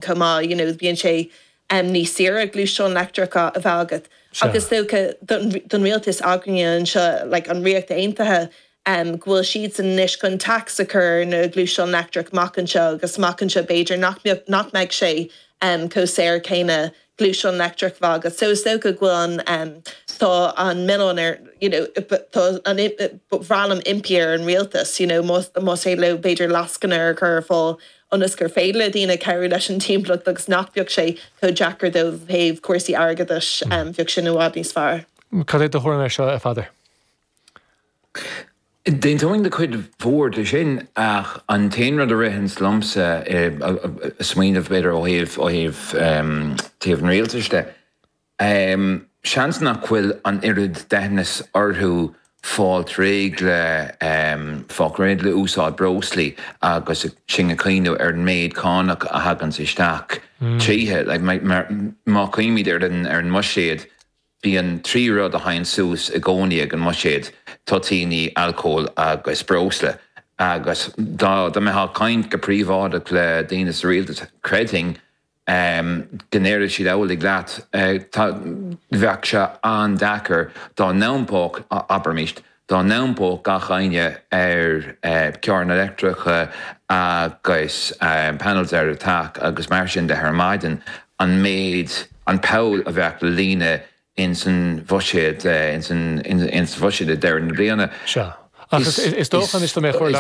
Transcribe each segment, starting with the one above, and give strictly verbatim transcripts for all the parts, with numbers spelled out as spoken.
chomh maith you know bíonn sé um, níos saoire gluaisteán leictreach a bheith agat. Agus dócha don rialtas againne anseo like, an Ríocht Aontaithe um, go bhfuil siad anois chun tax a chur na gluaisteán leictreach amach anseo agus amach anseo b'fhéidir nach nach mbeidh sé um, chomh saor céanna gluaisteán leictreach a bheith agat. So is dócha go bhfuil an um, tá an milleán ar you know, tá an bhralam impí ar an rialtas you know, más é le b'fhéidir lascaine a chur ar fáil ionas gur féidir le daoine cabhrú leis an timpeallacht agus nach mbeadh sé chomh deacair dóibh thaobh cúrsaí airgeadais um, bheadh sin i bhfad níos fearr. Cad é do thuairim air seo a Pheadair? D'aontóinn le cuid mhór de sin ach an t-aon rud a ritheann liomsa smaoineamh b'fhéidir ó thaobh ó thaobh taobh an rialtais de. Um, seans nach bhfuil an oiread deithneas orthu fáil réidh le um, fáil réidh le úsáid breoslaí agus sin a chuimhneamh ar an méid cánach a thagann isteach mm. tríothu like, má chuimhnímid ar an ar an mbuiséad bíonn trí rud a théann suas i gcónaí ag an mbuiséad toitíní alcól agus breosla. agus dá dá mbeifeá ag caint go príobháideach le daoine sa rialtas creidfinn um, go ndéarfadh siad amhlaidh leat uh, bheadh sé an-deacair dá n-iompódh abraimis dá n-iompódh gach éinne ar uh, carranna leictreacha agus um, panels ar teach agus mar sin de ar maidin an méid an poll a bheadh le líonadh in san bhuiséad in san in san bhuiséad deireadh na bliana. Sea. Is dócha is mé chuir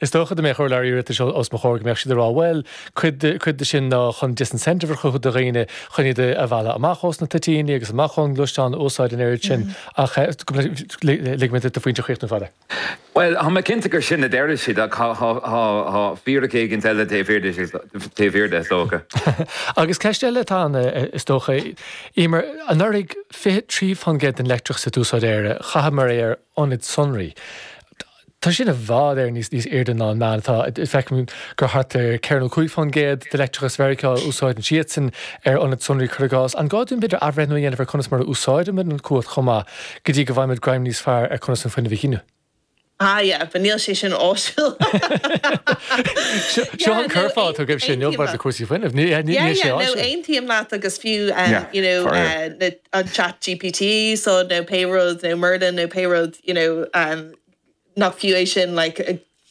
Is dócha mé chuir le os mo chomhair go mbeadh siad ag rá well cuid de sin ná chun disincentive a chruthú do dhaoine chun iad a mhealladh amach ós na toitíní agus amach ón ngluaisteán úsáid an oiread sin ach lig mé do phointe a chríochnú a Pheadair. Well tá mé cinnte gur sin a deir siad tá fíric éigin eile taobh thiar de is dócha. Agus ceist eile atá ann is dócha Eimear anuraidh fiche trí faoin gcéad den leictreachas a d'úsáid Éire chaitheamar é ar ionaid sonraí. Tá sin i bhfad ar níos níos airde ná an meán atá feicim gur thart ar ceithre nó cúig faoin gcéad de leictreachas Mheiriceá úsáideann siadsan ar ionaid sonraí cuir i gcás. An gá dúinn b'fhéidir athbhreithniú a dhéanamh ar conas mar a úsáidimid an chumhacht chomh maith go dtí go bhfaighimid greim níos fearr ar conas an fuinneamh a ghineadh? Ah yeah, but níl sé sin áisiúil. Seo an curfá tú gibh sin le cúrsaí fuinnimh ní sé Aontaím leat agus fiú um, you know, uh, an chat GPT so nó pé rud nó Merlin nó pé rud you know, um, nach fiú é sin like,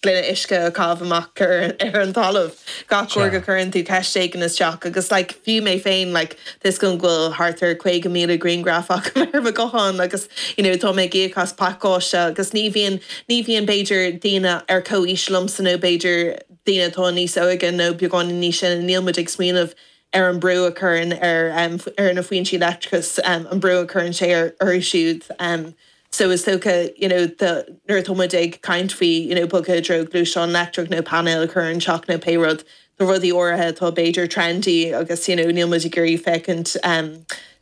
gloine uisce a chaitheamh amach ar, ar an talamh gach uair go gcuireann tú ceist éigin isteach agus like, fiú mé féin like, this go bhfuil thart ar caoga míle grianghraf agam ar mo ghuthán agus you know, tá mé ag íoc as pacáiste agus ní bhíonn ní bhíonn b'fhéidir daoine ar comhaois liomsa nó b'fhéidir daoine atá níos óige nó beagán níos sine níl muid ag smaoineamh ar an brú a chuireann ar um, ar na foinsí leictreachais um, an brú a chuireann sé ar orthu siúd. Um, so is dócha you know, the nuair atá muid ag caint faoi you know, bogadh i dtreo gluaisteán leictreach nó painéil a chur ar an teach nó pé rud do rudaí áirithe atá b'fhéidir trendy agus you know, níl muid ag iarraidh féachaint um,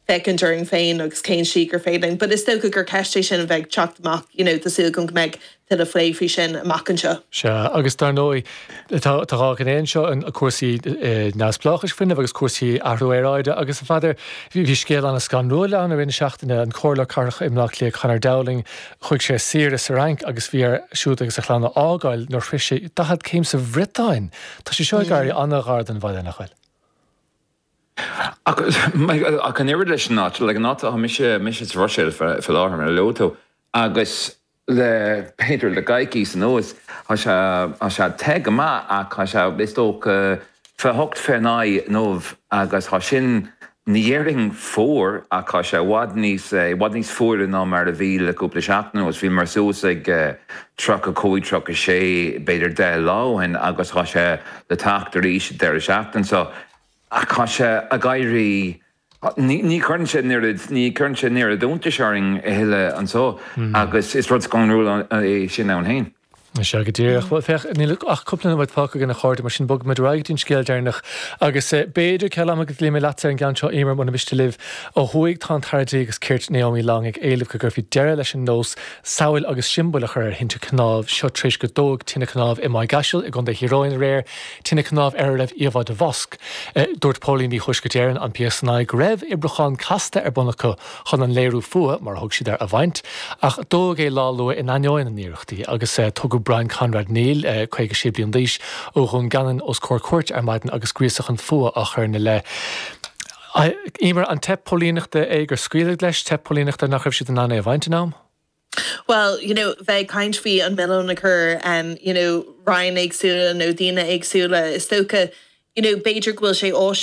féachaint orainn féin agus cén slí gur féidir. But is dócha gur ceist é sin a bheidh ag teacht amach you know, tá súil agam go mbeidh tuilleadh plé faoi sin amach anseo. Sea, agus dar ndóigh tá dhá ghné anseo an cúrsaí neamhspleáchais fuinnimh agus cúrsaí athrú aeráide agus a Pheadair bhí scéal an-scanrúil ann i rith na seachtaine an Comhairleoir Cathrach i mBleá Cliath Conor Dowling chuaigh sé saoire sa Fhrainc agus bhí air siúd agus a chlann a fhágáil nuair a shroich sé daichead céim sa Bhriotáin. Tá sé seo ag éirí an-ghar don bhaile nach bhfuil. Ach an oiread leis an áit, like an áit atá mise mise sa Bhruiséil faoi láthair mar a luaigh tú agus le b'fhéidir le coicís anuas tá sé tá sé te go maith ach tá sé is dócha fiche hocht fiche naoi inniu agus tá sin ní dhéarfainn fuar ach tá sé i bhfad níos i bhfad níos fuaire ná mar a bhí le cúpla seachtain anuas. Bhíomar suas ag tríocha cúig tríocha sé b'fhéidir deich lá ó shin agus tá sé le teacht arís deireadh seachtain so ach tá sé ag éirí ní chuireann sé an oiread ní chuireann sé an oiread iontais orainn a thuilleadh anso agus is rud scanrúil é sin ann féin. Sea go díreach. Bhuel, féach, níl ach cúpla nóiméad fágtha againn a chairde, mar sin bogfaimid ar aghaidh go dtí an scéal deireanach agus b'fhéidir ceal ama go dluífidh mé leatsa ar an gceann seo, Eimear, muna miste libh. Ó thuaidh tá an tAire Dlí agus Cirt Naomi Long ag éileamh go gcuirfí deireadh leis an nós samhail agus siombail a chur ar thinte cnámh, seo tar éis gur dódh tine cnámh i Maigh gCaisil i gContae Thír Eoghain aréir, tine cnámh ar a raibh íomhá de mhosc. Dúirt póilíní Thuaisceart Éireann, an PSNI, go raibh oibriúchán casta ar bun acu chun an léiriú fuatha, mar a thug siad air, a bhaint, ach dódh é lá luath in ainneoin na n-iarrachtaí agus tugadh Tugadh Brian Conrad Neil, caoga sé bliain d'aois, ó Dhún Geanainn os comhair cúirte ar maidin agus gríosadh chun fuatha á chur ina leith. Emer, an teip póilíneachta é gur scaoileadh leis, teip póilíneachta nach raibh siad in ann é a bhaint in am? Well, you know, bheith ag caint faoi an milleán a chur um, you know, roinn éagsúla nó daoine éagsúla is dócha, you know, b'fhéidir go bhfuil sé áisiúil